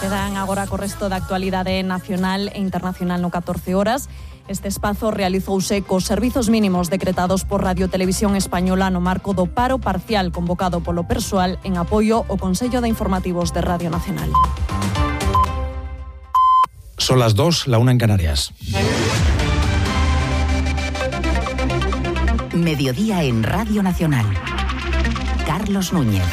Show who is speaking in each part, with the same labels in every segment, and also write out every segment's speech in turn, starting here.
Speaker 1: Quedan agora co resto da actualidade nacional e internacional no 14 horas. Este espazo realizouse cos servizos mínimos decretados por Radio Televisión Española no marco do paro parcial convocado polo persoal en apoio ao Consello de Informativos de Radio Nacional.
Speaker 2: Son las 2, la 1 en Canarias.
Speaker 3: Mediodía en Radio Nacional. Carlos Núñez.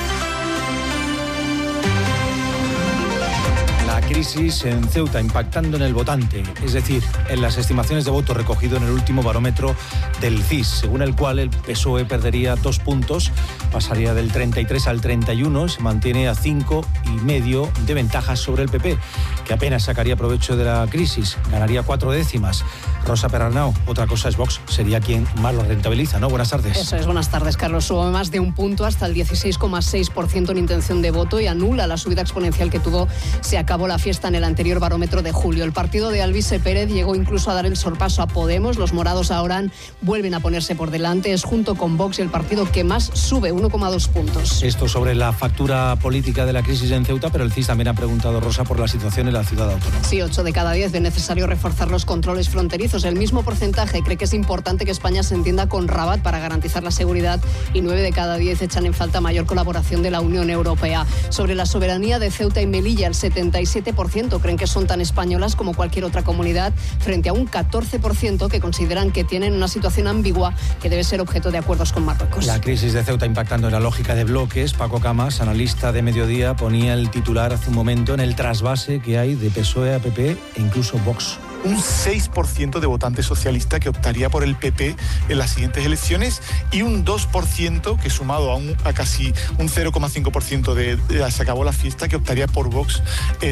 Speaker 2: La crisis en Ceuta impactando en el votante, es decir, en las estimaciones de voto recogido en el último barómetro del CIS, según el cual el PSOE perdería 2 puntos, pasaría del 33 al 31, se mantiene a 5,5 de ventaja sobre el PP, que apenas sacaría provecho de la crisis, ganaría 4 décimas. Rosa Perarnau, otra cosa es Vox, sería quien más lo rentabiliza, ¿no? Buenas tardes.
Speaker 4: Eso es, buenas tardes, Carlos. Sube más de 1 punto hasta el 16,6% en intención de voto y anula la subida exponencial que tuvo. Se acabó la fiesta en el anterior barómetro de julio. El partido de Alvise Pérez llegó incluso a dar el sorpaso a Podemos. Los morados ahora vuelven a ponerse por delante. Es junto con Vox el partido que más sube, 1,2 puntos.
Speaker 2: Esto sobre la factura política de la crisis en Ceuta, pero el CIS también ha preguntado, Rosa, por la situación en la ciudad autónoma.
Speaker 4: Sí, 8 de cada 10 ven necesario reforzar los controles fronterizos. El mismo porcentaje cree que es importante que España se entienda con Rabat para garantizar la seguridad y 9 de cada 10 echan en falta mayor colaboración de la Unión Europea. Sobre la soberanía de Ceuta y Melilla, el 77% creen que son tan españolas como cualquier otra comunidad, frente a un 14% que consideran que tienen una situación ambigua que debe ser objeto de acuerdos con Marruecos.
Speaker 2: La crisis de Ceuta impactando en la lógica de bloques. Paco Camas, analista de Mediodía, ponía el titular hace un momento en el trasvase que hay de PSOE a PP e incluso Vox.
Speaker 5: Un 6% de votantes socialistas que optaría por el PP en las siguientes elecciones y un 2% que sumado a casi un 0,5% de se acabó la fiesta que optaría por Vox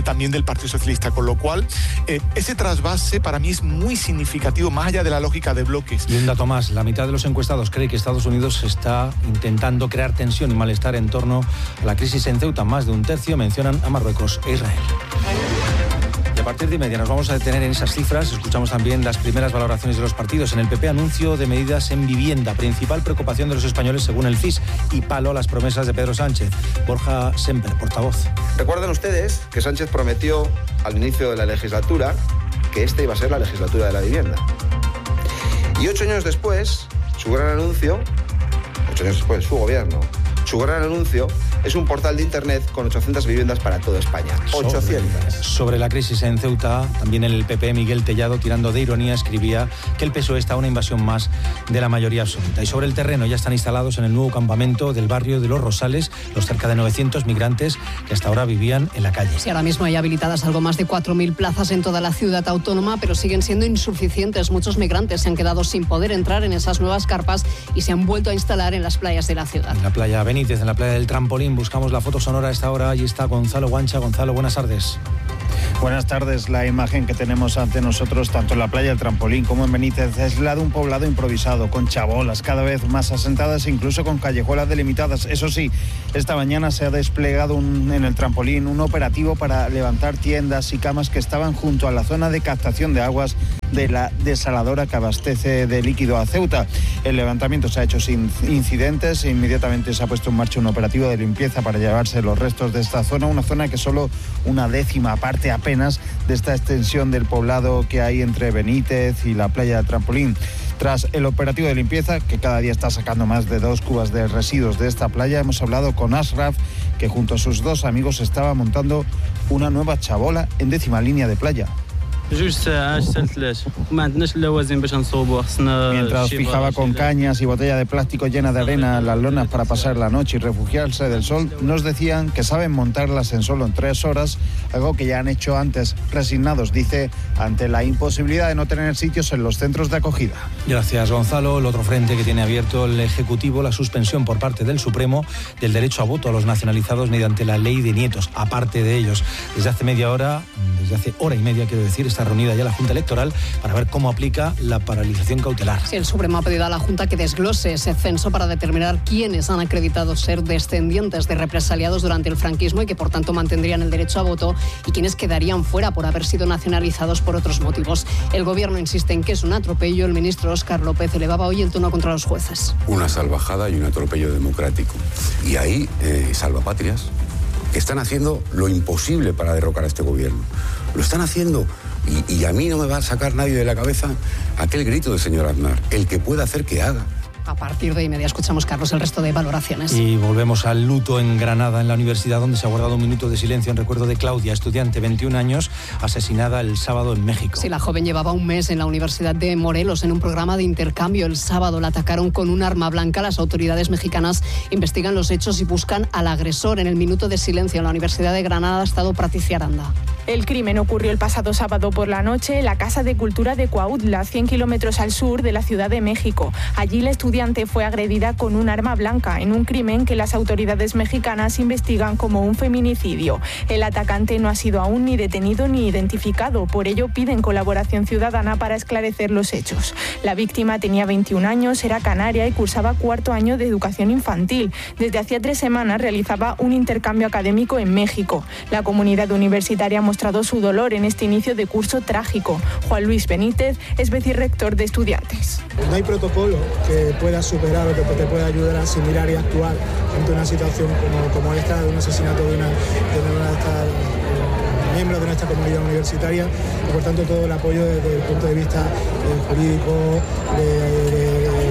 Speaker 5: también del Partido Socialista, con lo cual ese trasvase para mí es muy significativo más allá de la lógica de bloques.
Speaker 2: Y un dato más, la mitad de los encuestados cree que Estados Unidos está intentando crear tensión y malestar en torno a la crisis en Ceuta. Más de un tercio mencionan a Marruecos e Israel. Y a partir de 1:30 nos vamos a detener en esas cifras. Escuchamos también las primeras valoraciones de los partidos. En el PP, anuncio de medidas en vivienda, principal preocupación de los españoles según el CIS, y palo a las promesas de Pedro Sánchez. Borja Semper, portavoz.
Speaker 6: Recuerden ustedes que Sánchez prometió al inicio de la legislatura que esta iba a ser la legislatura de la vivienda. Y 8 años después, su gran anuncio, 8 años después, su gobierno, su gran anuncio es un portal de internet con 800 viviendas para toda España. 800.
Speaker 2: Sobre la crisis en Ceuta, también el PP, Miguel Tellado, tirando de ironía, escribía que el PSOE está a una invasión más de la mayoría absoluta. Y sobre el terreno ya están instalados en el nuevo campamento del barrio de Los Rosales los cerca de 900 migrantes que hasta ahora vivían en la calle.
Speaker 4: Sí, ahora mismo hay habilitadas algo más de 4.000 plazas en toda la ciudad autónoma, pero siguen siendo insuficientes. Muchos migrantes se han quedado sin poder entrar en esas nuevas carpas y se han vuelto a instalar en las playas de la ciudad.
Speaker 2: En la playa Benítez, en la playa del Trampolín, buscamos la foto sonora a esta hora. Allí está Gonzalo Guancha. Gonzalo, buenas tardes.
Speaker 7: Buenas tardes. La imagen que tenemos ante nosotros, tanto en la playa del Trampolín como en Benítez, es la de un poblado improvisado, con chabolas cada vez más asentadas e incluso con callejuelas delimitadas. Eso sí, esta mañana se ha desplegado en el Trampolín un operativo para levantar tiendas y camas que estaban junto a la zona de captación de aguas de la desaladora que abastece de líquido a Ceuta. El levantamiento se ha hecho sin incidentes e inmediatamente se ha puesto en marcha un operativo de limpieza para llevarse los restos de esta zona, una zona que solo una décima parte apenas de esta extensión del poblado que hay entre Benítez y la playa del Trampolín. Tras el operativo de limpieza, que cada día está sacando más de 2 cubas de residuos de esta playa, hemos hablado con Ashraf, que junto a sus 2 amigos estaba montando una nueva chabola en 10ª línea de playa. Mientras fijaba con cañas y botella de plástico llena de arena las lonas para pasar la noche y refugiarse del sol, nos decían que saben montarlas en solo 3 horas, algo que ya han hecho antes, resignados, dice, ante la imposibilidad de no tener sitios en los centros de acogida.
Speaker 2: Gracias, Gonzalo. El otro frente que tiene abierto el Ejecutivo, la suspensión por parte del Supremo del derecho a voto a los nacionalizados mediante la ley de nietos. Aparte de ellos, desde hace hora y media, quiero decir, está reunida ya la Junta Electoral para ver cómo aplica la paralización cautelar.
Speaker 4: Sí, el Supremo ha pedido a la Junta que desglose ese censo para determinar quiénes han acreditado ser descendientes de represaliados durante el franquismo y que por tanto mantendrían el derecho a voto y quienes quedarían fuera por haber sido nacionalizados por otros motivos. El Gobierno insiste en que es un atropello. El ministro Óscar López elevaba hoy el tono contra los jueces.
Speaker 8: Una salvajada y un atropello democrático. Y ahí salvapatrias que están haciendo lo imposible para derrocar a este gobierno. Lo están haciendo y a mí no me va a sacar nadie de la cabeza aquel grito del señor Aznar. El que pueda hacer, que haga.
Speaker 4: A partir de inmediato escuchamos, Carlos, el resto de valoraciones.
Speaker 2: Y volvemos al luto en Granada, en la universidad, donde se ha guardado un minuto de silencio en recuerdo de Claudia, estudiante, 21 años, asesinada el sábado en México.
Speaker 4: Sí, la joven llevaba un mes en la Universidad de Morelos en un programa de intercambio. El sábado la atacaron con un arma blanca. Las autoridades mexicanas investigan los hechos y buscan al agresor. En el minuto de silencio en la Universidad de Granada ha estado Patricia Aranda.
Speaker 9: El crimen ocurrió el pasado sábado por la noche en la Casa de Cultura de Cuautla, 100 kilómetros al sur de la Ciudad de México. Allí la estudiante fue agredida con un arma blanca en un crimen que las autoridades mexicanas investigan como un feminicidio. El atacante no ha sido aún ni detenido ni identificado, por ello piden colaboración ciudadana para esclarecer los hechos. La víctima tenía 21 años, era canaria y cursaba cuarto año de educación infantil. Desde hacía 3 semanas realizaba un intercambio académico en México. La comunidad universitaria ha mostrado su dolor en este inicio de curso trágico. Juan Luis Benítez es vicerrector de estudiantes.
Speaker 10: No hay protocolo que pueda superar o que te pueda ayudar a asimilar y actuar ante una situación como esta, de un asesinato de miembros de nuestra comunidad universitaria, y por tanto todo el apoyo desde el punto de vista jurídico,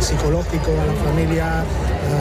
Speaker 10: psicológico a la familia,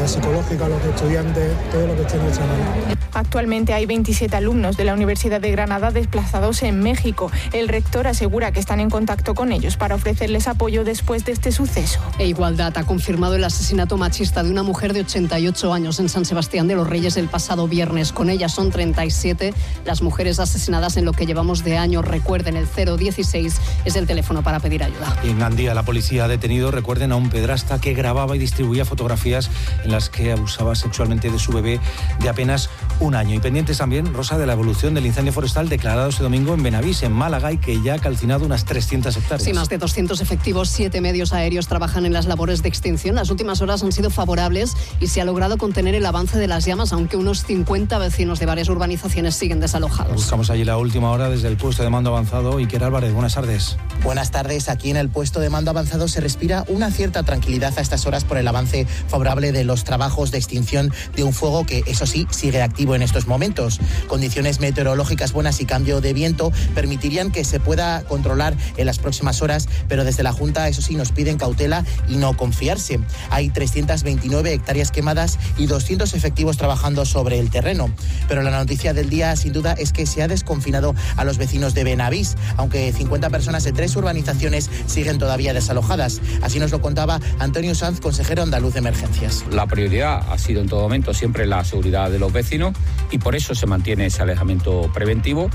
Speaker 10: psicológico a los estudiantes, todo lo que esté en nuestra mano.
Speaker 9: Actualmente hay 27 alumnos de la Universidad de Granada desplazados en México. El rector asegura que están en contacto con ellos para ofrecerles apoyo después de este suceso.
Speaker 4: E Igualdad ha confirmado el asesinato machista de una mujer de 88 años en San Sebastián de los Reyes el pasado viernes. Con ella son 37 las mujeres asesinadas en lo que llevamos de año. Recuerden, el 016 es el teléfono para pedir ayuda.
Speaker 2: En Gandía la policía ha detenido, recuerden, a un pedrasta que grababa y distribuía fotografías en las que abusaba sexualmente de su bebé de apenas un año. Y pendientes también, Rosa, de la evolución del incendio forestal declarado este domingo en Benavís, en Málaga, y que ya ha calcinado unas 300 hectáreas.
Speaker 4: Sí, más de 200 efectivos, 7 medios aéreos trabajan en las labores de extinción. Las últimas horas han sido favorables y se ha logrado contener el avance de las llamas, aunque unos 50 vecinos de varias urbanizaciones siguen desalojados.
Speaker 2: Buscamos allí la última hora desde el puesto de mando avanzado. Iker Álvarez, buenas tardes.
Speaker 11: Buenas tardes. Aquí en el puesto de mando avanzado se respira una cierta tranquilidad a estas horas por el avance favorable de los trabajos de extinción de un fuego que, eso sí, sigue activo en estos momentos. Condiciones meteorológicas buenas y cambio de viento permitirían que se pueda controlar en las próximas horas, pero desde la Junta, eso sí, nos piden cautela y no confiarse. Hay 329 hectáreas quemadas y 200 efectivos trabajando sobre el terreno. Pero la noticia del día, sin duda, es que se ha desconfinado a los vecinos de Benavís, aunque 50 personas de 3 urbanizaciones siguen todavía desalojadas. Así nos lo contaba Antonio Sanz, consejero andaluz de emergencias.
Speaker 12: La prioridad ha sido en todo momento siempre la seguridad de los vecinos y por eso se mantiene ese alejamiento preventivo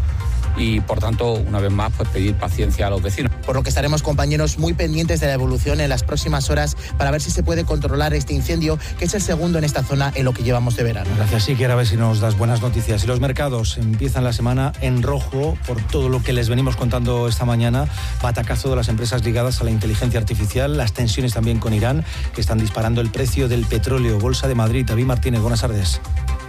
Speaker 12: y, por tanto, una vez más, pues pedir paciencia a los vecinos.
Speaker 11: Por lo que estaremos, compañeros, muy pendientes de la evolución en las próximas horas para ver si se puede controlar este incendio, que es el segundo en esta zona en lo que llevamos de verano.
Speaker 2: Gracias, Iker, a ver si nos das buenas noticias. Y los mercados empiezan la semana en rojo por todo lo que les venimos contando esta mañana. Batacazo de las empresas ligadas a la inteligencia artificial, las tensiones también con Irán, que están disparando el precio del petróleo. Bolsa de Madrid, David Martínez, buenas tardes.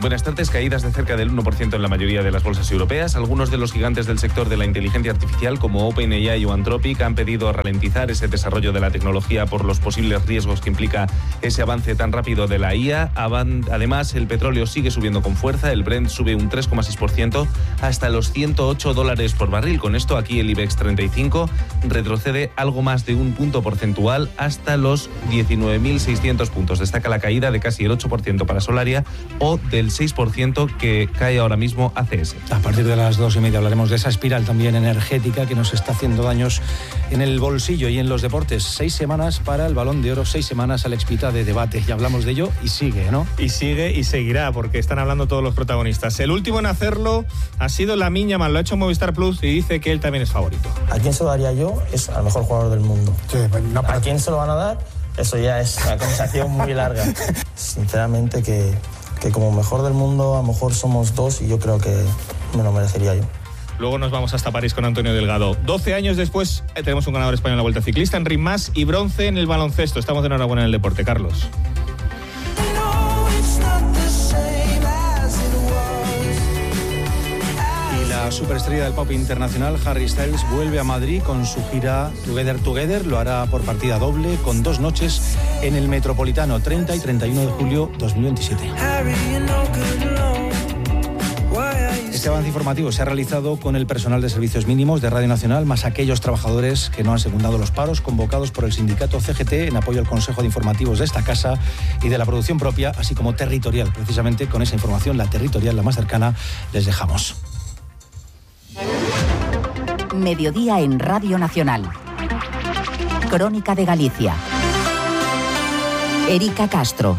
Speaker 13: Buenas tardes. Caídas de cerca del 1% en la mayoría de las bolsas europeas. Algunos de los gigantes del sector de la inteligencia artificial, como OpenAI o Anthropic, han pedido ralentizar ese desarrollo de la tecnología por los posibles riesgos que implica ese avance tan rápido de la IA. Además, el petróleo sigue subiendo con fuerza. El Brent sube un 3,6% hasta los $108 por barril. Con esto, aquí el IBEX 35 retrocede algo más de un punto porcentual hasta los 19.600 puntos. Destaca la caída de casi el 8% para Solaria o del 6% que cae ahora mismo ACS.
Speaker 2: A partir de las 2:30 hablaremos de esa espiral también energética que nos está haciendo daños en el bolsillo y en los deportes. 6 semanas para el Balón de Oro, 6 semanas Alex Pita de debate. Ya hablamos de ello y sigue, ¿no?
Speaker 14: Y sigue y seguirá, porque están hablando todos los protagonistas. El último en hacerlo ha sido Lamine Yamal, lo ha hecho Movistar Plus y dice que él también es favorito.
Speaker 15: ¿A quién se lo daría yo? Es al mejor jugador del mundo. Sí, no, ¿a quién se lo van a dar? Eso ya es una conversación muy larga. Sinceramente que como mejor del mundo a lo mejor somos 2 y yo creo que me lo merecería yo.
Speaker 14: Luego nos vamos hasta París con Antonio Delgado. 12 años después tenemos un ganador español en la Vuelta Ciclista, Enric Mas, y bronce en el baloncesto. Estamos de enhorabuena en el deporte, Carlos.
Speaker 2: La superestrella del pop internacional, Harry Styles, vuelve a Madrid con su gira Together Together. Lo hará por partida doble, con 2 noches en el Metropolitano, 30 y 31 de julio 2027. Este avance informativo se ha realizado con el personal de servicios mínimos de Radio Nacional, más aquellos trabajadores que no han secundado los paros convocados por el sindicato CGT en apoyo al Consejo de Informativos de esta casa y de la producción propia, así como territorial. Precisamente con esa información, la territorial, la más cercana, les dejamos.
Speaker 3: Mediodía en Radio Nacional. Crónica de Galicia. Erika Castro.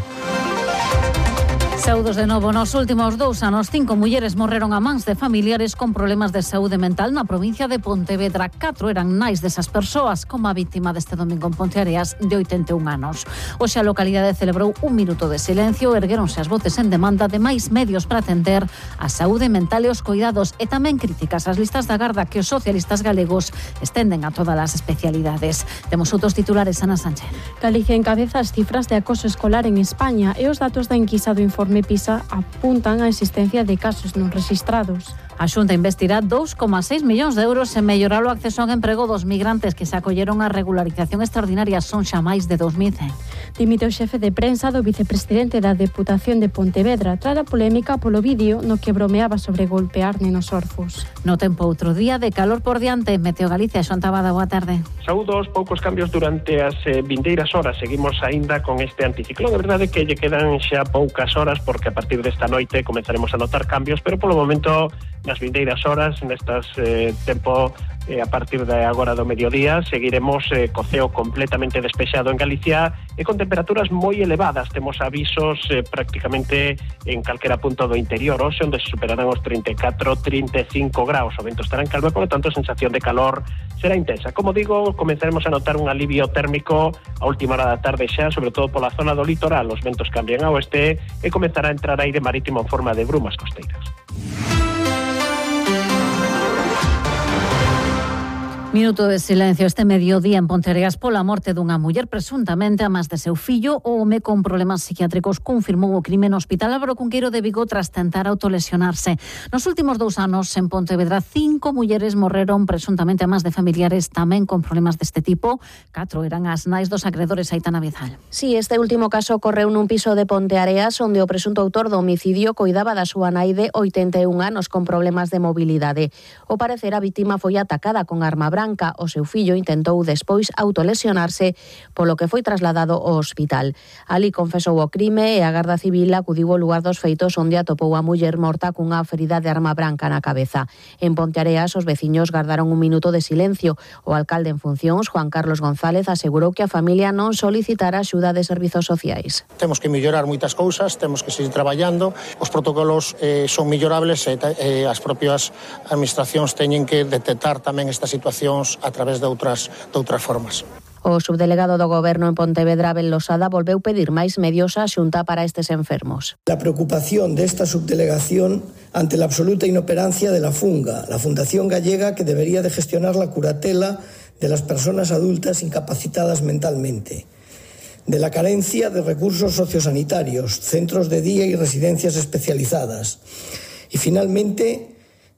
Speaker 16: Saúdos de novo. Nos últimos 2 anos, 5 mulleres morreron a mans de familiares con problemas de saúde mental na provincia de Pontevedra. 4 eran nais desas persoas, como a vítima deste domingo en Ponteareas, de 81 anos. Hoxe a localidade celebrou un minuto de silencio, ergueronse as voces en demanda de máis medios para atender a saúde mental e os cuidados, e tamén críticas ás listas da garda que os socialistas galegos estenden a todas as especialidades. Temos outros titulares, Ana Sánchez.
Speaker 17: Galicia encabeza as cifras de acoso escolar en España e os datos da enquisa do informe PISA apuntan á existencia de casos non rexistrados.
Speaker 16: A Xunta investirá 2,6 millóns de euros en mellorar o acceso ao emprego dos migrantes que se acolleron á regularización extraordinaria. Son xa máis de 2.100.
Speaker 17: Dimite o xefe de prensa do vicepresidente da Deputación de Pontevedra tras a polémica polo vídeo no que bromeaba sobre golpear nenos orfos.
Speaker 16: No tempo, outro día de calor por diante. Meteo Galicia, Xoan Tabada, boa tarde.
Speaker 18: Saúdos, poucos cambios durante as vindeiras horas. Seguimos aínda con este anticiclón. A verdade é que lle quedan xa poucas horas porque a partir desta noite comenzaremos a notar cambios, pero polo momento nas vindeiras horas, nestas tempo a partir de agora do mediodía, seguiremos co ceo completamente despexado en Galicia e con temperaturas moi elevadas. Temos avisos prácticamente en calquera punto do interior, hoxe onde se superarán os 34-35 graus. O vento estará en calma, por lo tanto a sensación de calor será intensa. Como digo, comenzaremos a notar un alivio térmico a última hora da tarde xa, sobre todo pola zona do litoral. Os ventos cambian a oeste e comenzará a entrar aire marítimo en forma de brumas costeiras.
Speaker 16: Minuto de silencio este mediodía en Ponteareas pola morte dunha muller presuntamente a más de seu fillo. O home con problemas psiquiátricos confirmou o crime no Hospital Álvaro Cunqueiro de Vigo tras tentar autolesionarse. Nos últimos 2 anos en Pontevedra 5 mulleres morreron presuntamente a más de familiares tamén con problemas deste tipo. 4 eran as nais dos acredores. Aitana Bizal.
Speaker 19: Sí, este último caso ocorreu nun piso de Ponteareas onde o presunto autor do homicidio coidaba da súa nai de 81 anos con problemas de mobilidade. O parecer a vítima foi atacada con arma branca. O seu fillo intentou despois autolesionarse, polo que foi trasladado ao hospital. Ali confesou o crime e a Garda Civil acudiu ao lugar dos feitos onde atopou a muller morta cunha ferida de arma branca na cabeza. En Ponteareas os veciños gardaron un minuto de silencio. O alcalde en funcións, Juan Carlos González, asegurou que a familia non solicitara axuda de servizos sociais.
Speaker 20: Temos que mellorar moitas cousas, temos que seguir traballando, os protocolos son mellorables e as propias administracións teñen que detectar tamén esta situación a través de outras formas.
Speaker 19: O subdelegado do Goberno en Pontevedra, Abel Losada, volveu pedir máis medios á Xunta para estes enfermos.
Speaker 21: La preocupación de esta subdelegación ante la absoluta inoperancia de la FUNGA, la Fundación Gallega que debería de gestionar la curatela de las personas adultas incapacitadas mentalmente, de la carencia de recursos sociosanitarios, centros de día y residencias especializadas, y finalmente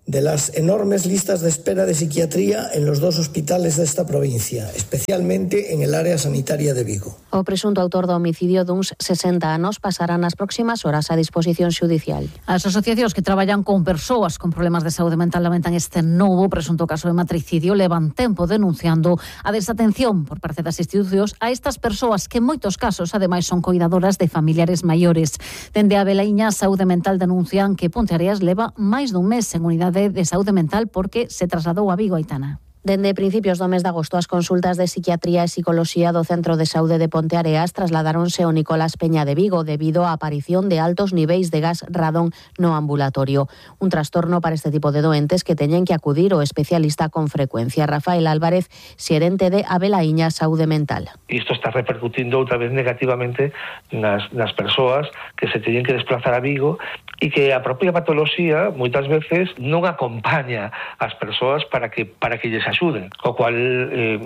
Speaker 21: de las enormes listas de espera de psiquiatría en los 2 hospitales de esta provincia, especialmente en el área sanitaria de Vigo.
Speaker 19: O presunto autor do homicidio duns 60 anos pasará nas próximas horas a disposición xudicial.
Speaker 16: As asociacións que traballan con persoas con problemas de saúde mental lamentan este novo presunto caso de matricidio. Levan tempo denunciando a desatención por parte das institucións a estas persoas que en moitos casos ademais son coidadoras de familiares maiores. Dende a Belaiña Saúde Mental denuncian que Ponteareas leva máis dun mes en unidade de saúde mental porque se trasladou a Vigo. Aitana.
Speaker 19: Dende principios do mes de agosto, as consultas de psiquiatría e psicoloxía do Centro de Saúde de Ponteareas trasladaronse ao Nicolás Peña de Vigo debido á aparición de altos niveis de gas radón no ambulatorio. Un trastorno para este tipo de doentes que teñen que acudir ao especialista con frecuencia. Rafael Álvarez, xerente de Abelaiña Saúde Mental.
Speaker 22: Isto está repercutindo outra vez negativamente nas persoas que se teñen que desplazar a Vigo e que a propia patoloxía moitas veces non acompaña as persoas para que lles axude, o cual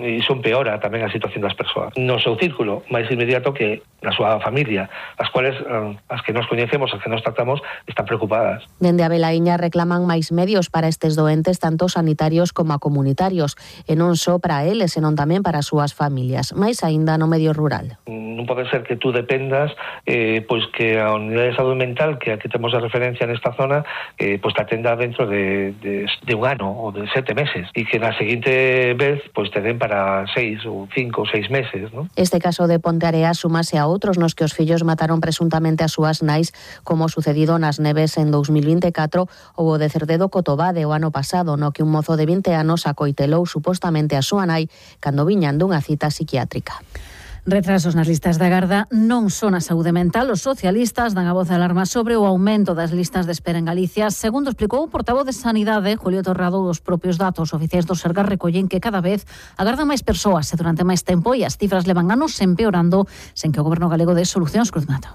Speaker 22: iso empeora tamén a situación das persoas. No seu círculo máis inmediato que na súa familia, as cuales as que nos coñecemos, as que nos tratamos, están preocupadas.
Speaker 19: Dende a Velaíña reclaman máis medios para estes doentes, tanto sanitarios como comunitarios, e non só para eles, senón tamén para as súas familias, máis aínda no medio rural.
Speaker 22: Non pode ser que tú dependas pois que a unidade de saúde mental que aquí temos de referencia nesta zona pois te atenda dentro de un ano ou de 7 meses e que na seguinte vez pois te den para 6 ou 5 ou 6 meses, ¿no?
Speaker 19: Este caso de Ponteareas súmase a outros nos que os fillos mataron presuntamente as súas nais, como sucedido nas Neves en 2024 ou o de Cerdedo Cotobade o ano pasado, no que un mozo de 20 anos acoitelou supostamente a súa nai cando viñan dunha cita psiquiátrica.
Speaker 16: Retrasos nas listas de agarda non son a saúde mental. Os socialistas dan a voz de alarma sobre o aumento das listas de espera en Galicia. Segundo explicou o portavoz de Sanidade, Julio Torrado, os propios datos oficiais do Sergas recollen que cada vez agardan máis persoas e durante máis tempo e as cifras levan anos empeorando sen que o Goberno galego dé solucións. Cruz Mato.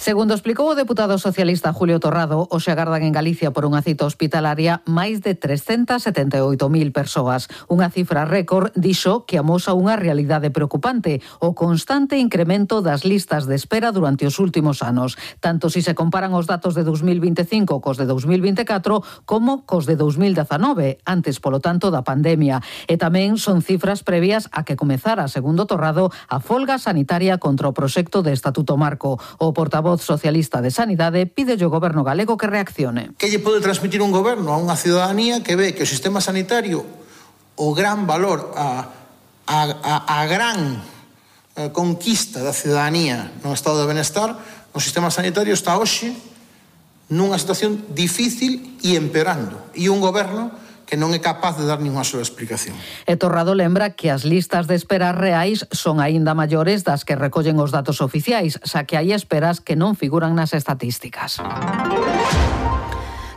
Speaker 1: Segundo explicou o deputado socialista Julio Torrado, hoxe agardan en Galicia por unha cita hospitalaria máis de 378.000 persoas. Unha cifra récord, dixo, que amosa unha realidade preocupante, o constante incremento das listas de espera durante os últimos anos, tanto si se comparan os datos de 2025 cos de 2024 como cos de 2019, antes, polo tanto, da pandemia. E tamén son cifras previas a que comezara, segundo Torrado, a folga sanitaria contra o proxecto de Estatuto Marco. O portavoz socialista de Sanidade pide ao Goberno galego que reaccione.
Speaker 5: Que lle pode transmitir un goberno a unha ciudadanía que ve que o sistema sanitario, o gran valor, a gran conquista da ciudadanía no estado de benestar, o sistema sanitario está hoxe nunha situación difícil e empeorando. E un goberno que non é capaz de dar ninguna sola explicación.
Speaker 1: E Torrado lembra que as listas de espera reais son aínda maiores das que recollen os datos oficiais, xa que hai esperas que non figuran nas estatísticas.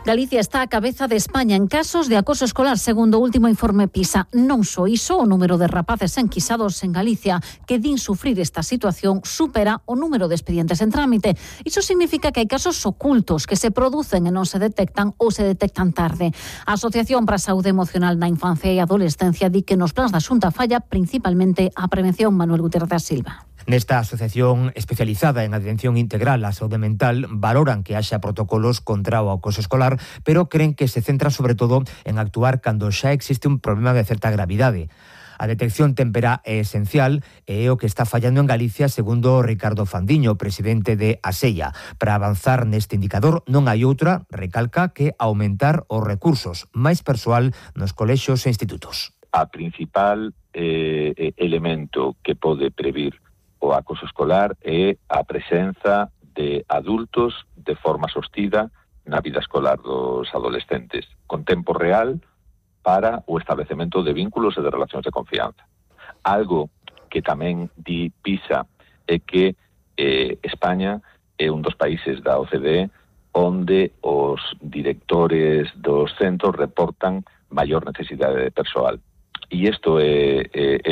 Speaker 16: Galicia está á cabeza de España en casos de acoso escolar, segundo o último informe PISA. Non só iso, o número de rapaces enquisados en Galicia que din sufrir esta situación supera o número de expedientes en trámite. Iso significa que hai casos ocultos que se producen e non se detectan ou se detectan tarde. A Asociación para a Saúde Emocional na Infancia e Adolescencia di que nos plans da Xunta falla principalmente a prevención. Manuel Gutiérrez da Silva.
Speaker 23: Nesta asociación especializada en atención integral á saúde mental valoran que haxa protocolos contra o acoso escolar, pero creen que se centra sobre todo en actuar cando xa existe un problema de certa gravidade. A detección temperá é esencial e é o que está fallando en Galicia, segundo Ricardo Fandiño, presidente de ASEIA. Para avanzar neste indicador non hai outra, recalca, que aumentar os recursos, máis persoal nos colexios e institutos.
Speaker 24: A principal elemento que pode previr o acoso escolar é a presenza de adultos de forma sostida na vida escolar dos adolescentes, con tempo real para o establecemento de vínculos e de relacións de confianza. Algo que tamén di PISA é que España é un dos países da OCDE onde os directores dos centros reportan maior necesidade de persoal. E isto é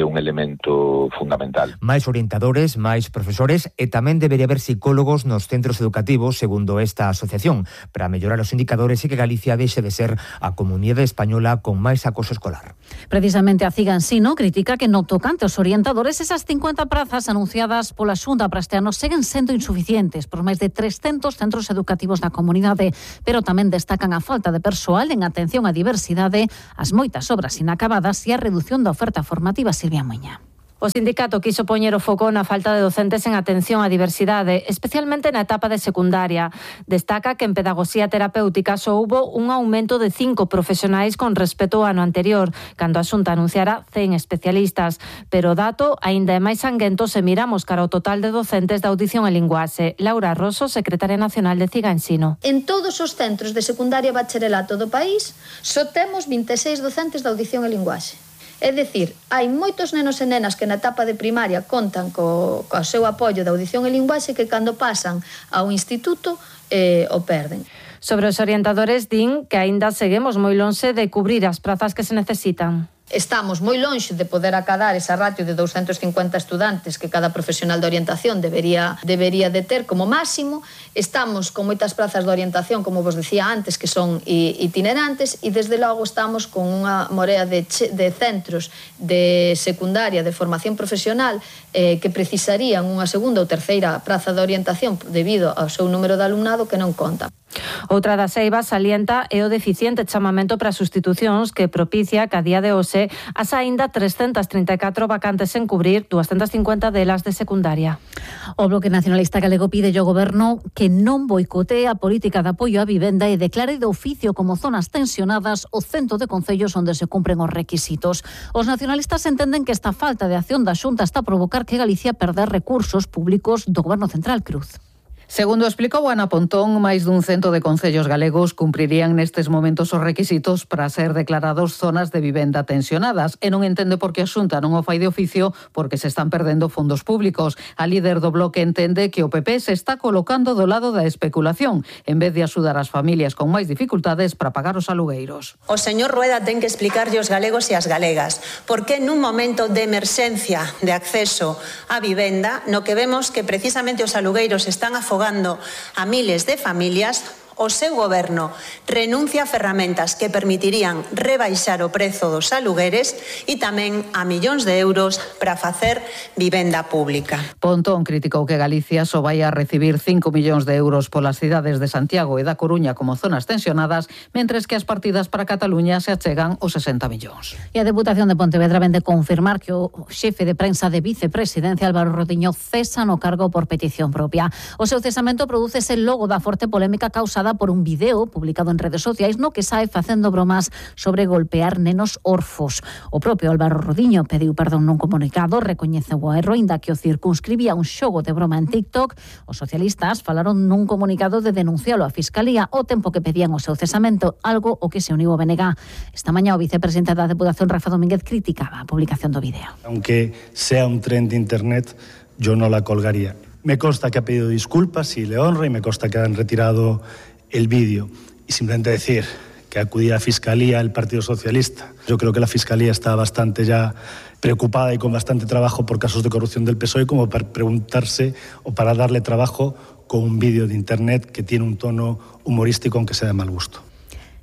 Speaker 24: un elemento fundamental.
Speaker 23: Máis orientadores, máis profesores e tamén debería haber psicólogos nos centros educativos, segundo esta asociación, para mellorar os indicadores e que Galicia deixe de ser a comunidade española con máis acoso escolar.
Speaker 16: Precisamente a CIGA Ensino critica que no tocante aos orientadores esas 50 prazas anunciadas pola Xunta para este ano seguen sendo insuficientes por máis de 300 centros educativos da comunidade, pero tamén destacan a falta de persoal en atención á diversidade, as moitas obras inacabadas e a redución da oferta formativa. Silvia Muña.
Speaker 25: O sindicato quiso poñer o foco na falta de docentes en atención á diversidade, especialmente na etapa de secundaria. Destaca que en pedagogía terapéutica só houbo un aumento de 5 profesionais con respecto ao ano anterior, cando a Xunta anunciara 100 especialistas. Pero o dato aínda é máis sanguento se miramos cara ao total de docentes de audición e linguaxe. Laura Rosso, secretaria nacional de CIGA Ensino.
Speaker 26: En todos os centros de secundaria e bacharelato do país só temos 26 docentes de audición e linguaxe. É dicir, hai moitos nenos e nenas que na etapa de primaria contan co seu apoio de audición e linguaxe que cando pasan ao instituto o perden.
Speaker 25: Sobre os orientadores din que aínda seguimos moi lonxe de cubrir as prazas que se necesitan.
Speaker 26: estamos moi lonxe de poder acadar esa ratio de 250 estudantes que cada profesional de orientación debería de ter como máximo. Estamos con moitas prazas de orientación, como vos decía antes, que son itinerantes, e desde logo estamos con unha morea de centros de secundaria de formación profesional que precisarían unha segunda ou terceira praza de orientación debido ao seu número de alumnado que non conta.
Speaker 25: Outra das eivas salienta é o deficiente chamamento para sustitucións que propicia que a día de hoxe as aínda 334 vacantes en cubrir, 250 delas de secundaria.
Speaker 16: O Bloque Nacionalista Galego pide ao Goberno que non boicotee a política de apoio á vivenda e declare de oficio como zonas tensionadas o cento de concellos onde se cumpren os requisitos. Os nacionalistas entenden que esta falta de acción da Xunta está a provocar que Galicia perder recursos públicos do Goberno Central. Cruz.
Speaker 1: Segundo explicou Ana Pontón, máis dun cento de concellos galegos cumprirían nestes momentos os requisitos para ser declarados zonas de vivenda tensionadas e non entende por que a Xunta non o fai de oficio porque se están perdendo fondos públicos. A líder do Bloque entende que o PP se está colocando do lado da especulación en vez de axudar as familias con máis dificultades para pagar os alugueiros.
Speaker 4: O señor Rueda ten que explicarlle aos galegos e ás galegas por que nun momento de emerxencia de acceso á vivenda, no que vemos que precisamente os alugueiros están afogando a miles de familias, o seu goberno renuncia a ferramentas que permitirían rebaixar o prezo dos alugueres e tamén a millóns de euros para facer vivenda pública.
Speaker 1: Pontón criticou que Galicia só vai a recibir 5 millóns de euros polas cidades de Santiago e da Coruña como zonas tensionadas, mentres que as partidas para Cataluña se achegan os 60 millóns.
Speaker 16: E a Deputación de Pontevedra vende confirmar que o xefe de prensa de vicepresidencia Álvaro Rodiño cesa no cargo por petición propia. O seu cesamento prodúcese logo da forte polémica causada por un vídeo publicado en redes sociais no que sae facendo bromas sobre golpear nenos orfos. O propio Álvaro Rodiño pediu perdón nun comunicado, recoñeceu o erro, inda que o circunscribía un xogo de broma en TikTok. Os socialistas falaron nun comunicado de denuncialo á Fiscalía ao tempo que pedían o seu cesamento, algo o que se uniu o BNG. Esta mañá o vicepresidente da Deputación, Rafa Domínguez, criticaba a publicación do vídeo.
Speaker 6: Aunque sea un tren de internet, yo no la colgaría. Me consta que ha pedido disculpas y le honra, y me consta que han retirado el vídeo, y simplemente decir que acudía a Fiscalía el Partido Socialista. Yo creo que la Fiscalía está bastante ya preocupada y con bastante trabajo por casos de corrupción del PSOE como para preguntarse o para darle trabajo con un vídeo de internet que tiene un tono humorístico aunque sea de mal gusto.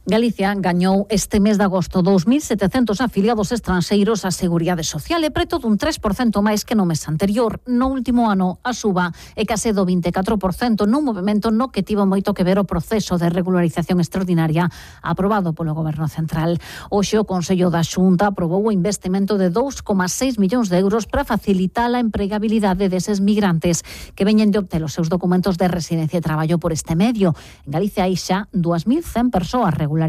Speaker 16: Galicia gañou este mes de agosto 2.700 afiliados estranxeiros á Seguridade Social e preto dun 3% máis que no mes anterior. No último ano, a suba é case do 24% nun movimento no que tivo moito que ver o proceso de regularización extraordinaria aprobado polo Goberno Central. Hoxe o Consello da Xunta aprobou o investimento de 2,6 millóns de euros para facilitar a empregabilidade deses migrantes que veñen de obter os seus documentos de residencia e traballo por este medio. En Galicia hai xa 2.100 persoas regularizadas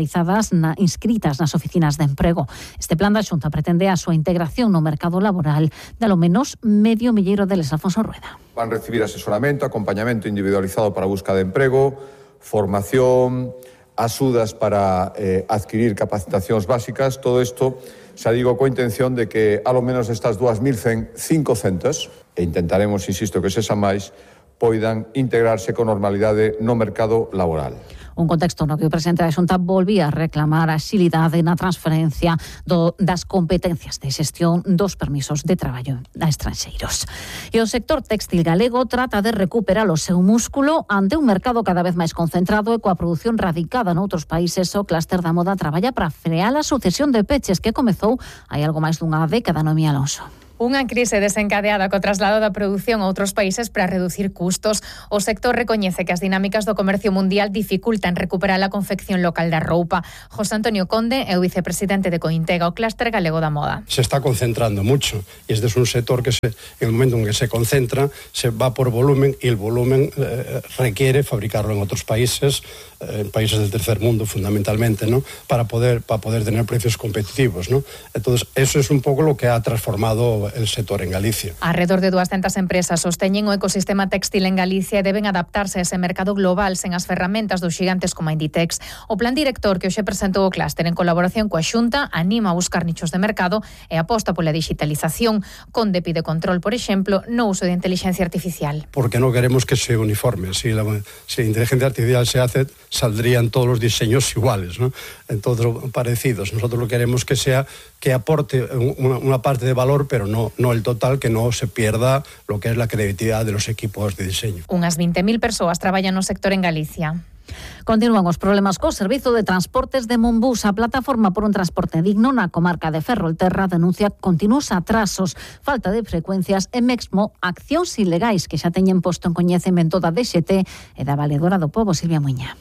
Speaker 16: inscritas nas oficinas de emprego. Este plan da Xunta pretende a súa integración no mercado laboral de ao menos medio milleiro deles. Alfonso Rueda.
Speaker 7: Van recibir asesoramento, acompañamento individualizado para a busca de emprego, formación, axudas para adquirir capacitacións básicas, todo isto xa digo coa intención de que ao menos estas 2.100, 500, e intentaremos, insisto, que sexa máis, poidan integrarse con normalidade no mercado laboral.
Speaker 16: Un contexto no que o presidente da Xunta volvía a reclamar a axilidade na transferencia das competencias de xestión dos permisos de traballo a estranxeiros. E o sector textil galego trata de recuperar o seu músculo ante un mercado cada vez máis concentrado e coa produción radicada noutros países. O clúster da moda traballa para frear a sucesión de peches que comezou hai algo máis dunha década. Noemí Alonso.
Speaker 8: Unha crise desencadeada co traslado da produción a outros países para reducir custos. O sector recoñece que as dinámicas do comercio mundial dificultan recuperar a confección local da roupa. José Antonio Conde é o vicepresidente de Cointega, o clúster galego da moda.
Speaker 9: Se está concentrando mucho y este es un sector que en el momento en que se concentra se va por volumen y el volumen requiere fabricarlo en otros países, en países del tercer mundo fundamentalmente, ¿no? Para poder tener precios competitivos, ¿no? Entonces eso es un poco lo que ha transformado el sector en Galicia.
Speaker 8: Alrededor de 200 empresas sosteñen o ecosistema textil en Galicia e deben adaptarse a ese mercado global sen as ferramentas dos xigantes como a Inditex. O plan director que hoxe presentou o clúster en colaboración coa Xunta anima a buscar nichos de mercado e aposta pola digitalización. Conde pide control, por exemplo, no uso de inteligencia artificial.
Speaker 9: Porque no queremos que se uniforme. Si la inteligencia artificial se hace, saldrían todos los diseños iguales, ¿no? Entonces, parecidos. Nosotros lo queremos que sea que aporte una parte de valor, pero no el total, que no se pierda lo que es la creatividad de los equipos de diseño.
Speaker 8: Unhas 20.000 persoas traballan no sector en Galicia.
Speaker 16: Continúan os problemas co Servizo de Transportes de Monbús. A Plataforma por un Transporte Digno na comarca de Ferrolterra denuncia continuos atrasos, falta de frecuencias e mesmo accións ilegais que xa teñen posto en coñecemento da DXT e da Valedora do Pobo, Silvia Muña.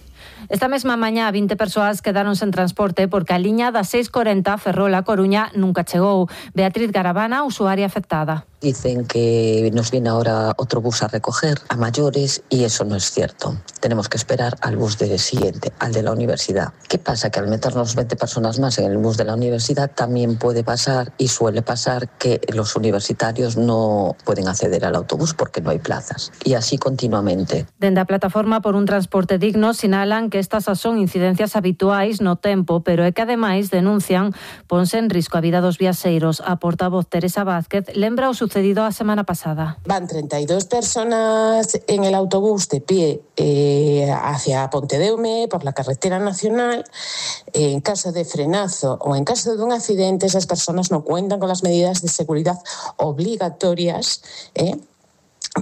Speaker 25: Esta mesma mañá 20 persoas quedaron sen transporte porque a liña da 640 Ferrol-A Coruña nunca chegou. Beatriz Garabana, usuaria afectada.
Speaker 10: Dicen que nos viene ahora otro bus a recoger a mayores y eso no es cierto. Tenemos que esperar al bus siguiente, al de la universidad. ¿Qué pasa? Que al meternos 20 personas más en el bus de la universidad también puede pasar y suele pasar que los universitarios no pueden acceder al autobús porque no hay plazas. Y así continuamente.
Speaker 25: Dende a Plataforma por un Transporte Digno sinalan que estas son incidencias habituais no tempo, pero é que ademais denuncian ponse en risco a vida dos viaxeiros. A portavoz Teresa Vázquez lembra o sucedido a semana pasada.
Speaker 11: Van 32 personas en el autobús de pie hacia Pontedeume por la carretera nacional. En caso de frenazo o en caso de un accidente, esas personas no cuentan con las medidas de seguridad obligatorias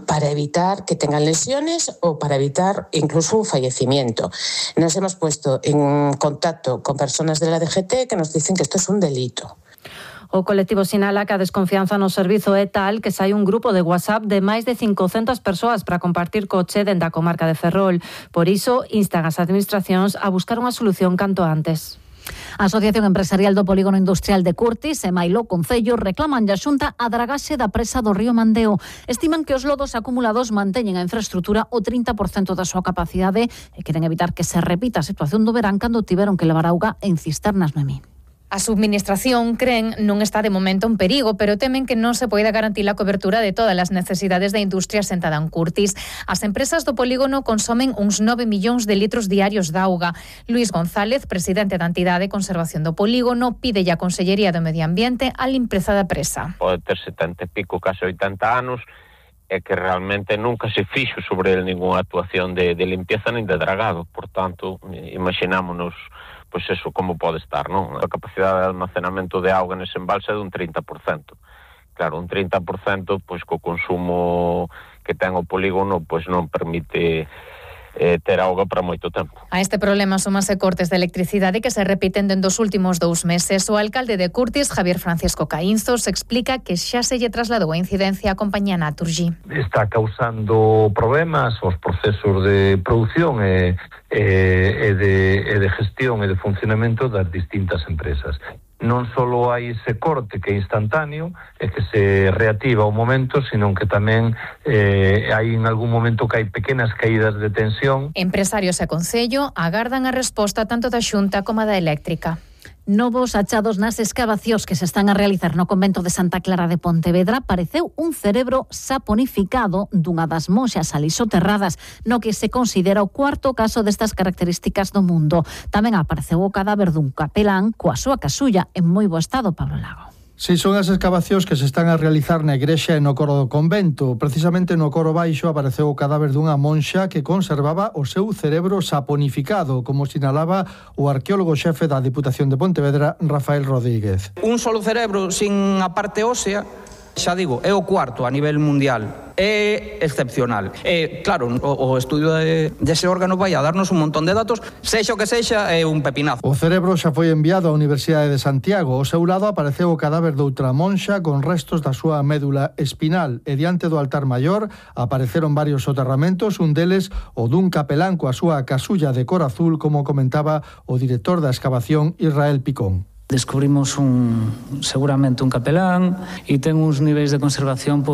Speaker 11: para evitar que tengan lesiones o para evitar incluso un fallecimiento. Nos hemos puesto en contacto con personas de la DGT que nos dicen que esto es un delito.
Speaker 25: O colectivo sinala que a desconfianza no servizo é tal que sai un grupo de WhatsApp de máis de 500 persoas para compartir coche dende a comarca de Ferrol. Por iso, instan as administracións a buscar unha solución canto antes.
Speaker 16: A Asociación Empresarial do Polígono Industrial de Curtis e Mailó Concello reclaman a Xunta a dragaxe da presa do río Mandeo. Estiman que os lodos acumulados manteñen a infraestrutura o 30% da súa capacidade e queren evitar que se repita a situación do verán cando tiveron que levar auga en cisternas, Noemí.
Speaker 8: A subministración, cren, non está de momento en perigo, pero temen que non se poida garantir a cobertura de todas as necesidades da industria sentada en Curtis. As empresas do polígono consomen uns 9 millóns de litros diarios de auga. Luís González, presidente da entidade de conservación do polígono, pide a Consellería do Medio Ambiente a limpeza da presa.
Speaker 12: Pode ter 70 e pico, case 80 anos, e que realmente nunca se fixo sobre ele ninguna actuación de limpieza nin de dragado. Por tanto, imaginámonos pois eso como pode estar, non? A capacidade de almacenamento de auga nese embalse é dun 30%. Claro, un 30%, pois co consumo que ten o polígono, pois non permite ter auga para moito tempo.
Speaker 8: A este problema súmase cortes de electricidade que se repiten dende os últimos 2 meses. O alcalde de Curtis, Javier Francisco Caínzos, explica que xa se lle trasladou a incidencia a compañía Naturgy.
Speaker 13: Está causando problemas os procesos de produción e de gestión e de funcionamento das distintas empresas. Non só hai ese corte que é instantáneo e que se reactiva o momento, sino que tamén hai en algún momento que hai pequenas caídas de tensión.
Speaker 8: Empresarios e Concello agardan a resposta tanto da Xunta como da Eléctrica.
Speaker 16: Novos achados nas escavacións que se están a realizar no convento de Santa Clara de Pontevedra apareceu un cerebro saponificado dunha das monxas ali soterradas, no que se considera o 4º caso destas características do mundo. Tamén apareceu o cadáver dun capelán coa súa casulla en moi bo estado, Pablo Lago.
Speaker 14: Si son as escavacións que se están a realizar na igrexa e no coro do convento. Precisamente no coro baixo apareceu o cadáver dunha monxa que conservaba o seu cerebro saponificado, como sinalaba o arqueólogo xefe da Diputación de Pontevedra, Rafael Rodríguez.
Speaker 15: Un solo cerebro sin a parte ósea, xa digo, é o 4º a nivel mundial. É excepcional. Claro, o estudio dese órgano vai a darnos un montón de datos, sexa o que sexa, é un pepinazo.
Speaker 14: O cerebro xa foi enviado á Universidade de Santiago. Ao seu lado apareceu o cadáver doutra monxa con restos da súa médula espinal e diante do altar maior apareceron varios soterramentos, un deles o dun capelán coa súa casulla de cor azul, como comentaba o director da excavación, Israel Picón.
Speaker 27: Descubrimos seguramente un capelán e ten uns niveis de conservación